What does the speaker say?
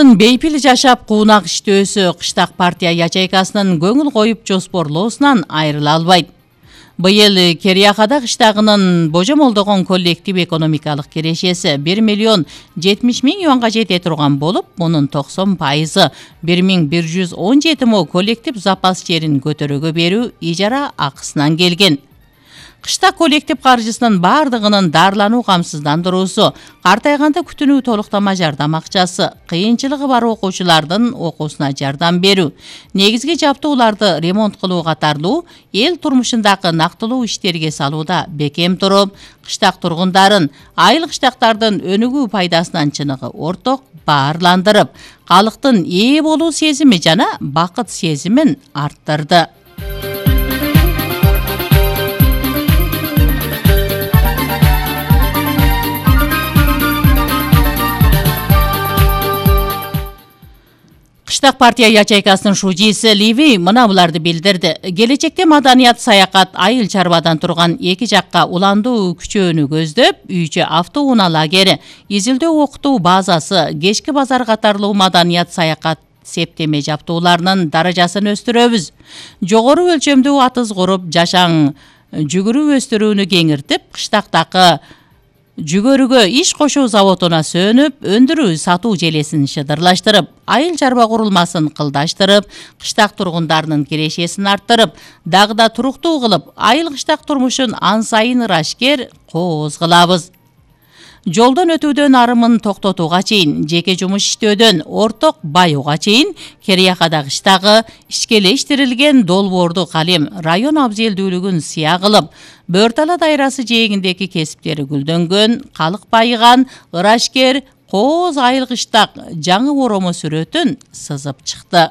Калктын бейпил жашап куунак иштөөсү Кыштак партия ячейкасынын көңүл коюп жоспорлоосунан айрыла албайт. Быйыл Кериякада кыштагынын божомолдогон коллектив экономикалык кирешеси 1 миллион 70 миң юанга жете турган болуп, мунун 90% 1117 мо коллектив запас жерин көтөрүүгө берүү ижара акысынан келген. Кыштак коллектив каржысынын бардыгынын дарылануу камсыздандыруусу, картайганда күтүнүү толуктама жардам акчасы, кыйынчылыгы бар окуучулардын окуусуна жардам берүү, негизги жабдууларды ремонт кылуу катарлуу эл турмушундагы нактылуу иштерге салууда бекем туруп, кыштак тургундарын айыл кыштактардын өнүгүү пайдасынан чыныгы орток баарландырып, калктын ээ болуу сезими жана бакыт сезимин арттырды. Кыштак партия ячейкасынын шужиси Ливи мына буларды билдирди. Келечекте маданият саякат айыл чарбадан турган эки жакка уландуу күчөөнү көздөп, үйчө автоунаа лагери, изилдөө окутуу базасы, кечки базар катарлуу маданият саякат септеме жабдууларынын даражасын өстүрөбүз. Жогору өлчөмдүү атыз куруп, жашаң жүгүрүү өстүрүүнү кеңиртип, кыштактагы жүгөрүгө иш кошуу заводуна сөнүп, өндүрүү сатуу желесин шыдырлаштырып, айыл чарба курулмасын кылдаштырып, кыштак тургундарынын кирешесин арттырып, дагы да туруктуу кылып, айыл кыштак турмушун ан сайын ырашкер, кооз кылабыз. Жолдон өтүүдөн арымын токтотууга чейин, жеке жумуш иштөөдөн орток баюуга чейин Кериякада кыштагы ишкелештирилген долбоорду калем район абзелдүүлүгүн сыя кылып, Бөртала дайрасы жээгиндеги кесиптери гүлдөнгөн, калк байыган, ырашкер, кооз айыл кыштак жаңы оромо сүрөтүн сызып чыкты.